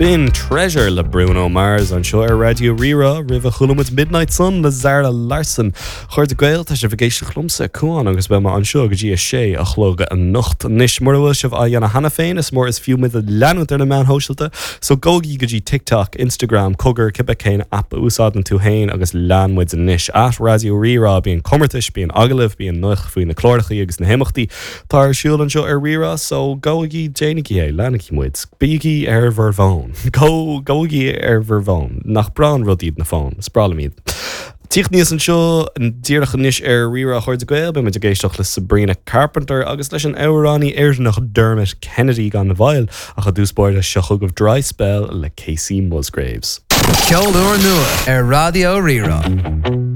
B'in Treasure le Bruno Mars anseo ar Raidió Rí-Rá. Roimhe chuala muid Midnight Sun le Zara Larsson. A chairde Gael, tá sibh ag éisteacht liomsa, Cuán, agus beidh mé anseo go dtí a sé a chlog anocht. Anois, mura bhfuil sibh á dhéanamh cheana féin, is mór is fiú muid a leanúint ar na meáin shóisialta, so gabhaigí go dtí TikTok, Instagram, cogar, cibé cén aip a úsáideann tú féin agus lean muid anois. At Raidió Rí-Rá, bíonn comórtais, bíonn agallaimh, bíonn nuacht faoi na clárachaí agus na himeachtaí. Tá ar siúl anseo ar Rí-Rá so gabhaigí, déanaigí é, leanaigí muid, bígí ar bhur bhfón, go, gabhaigí ar bhur bhfón, nach breá an rud iad na fóin, is breá liom iad. Tíocht aníos anseo díreach anois ar Rí-Rá a chairde Gael, beidh muid ag éisteacht le Sabrina Carpenter agus leis an amhránaí Éireannach Dermot Kennedy gan mhoill, ach i dtús báire seo chugaibh Dry Spell le Kacey Musgraves. Ceol úrnua ar Raidió Rí-Rá.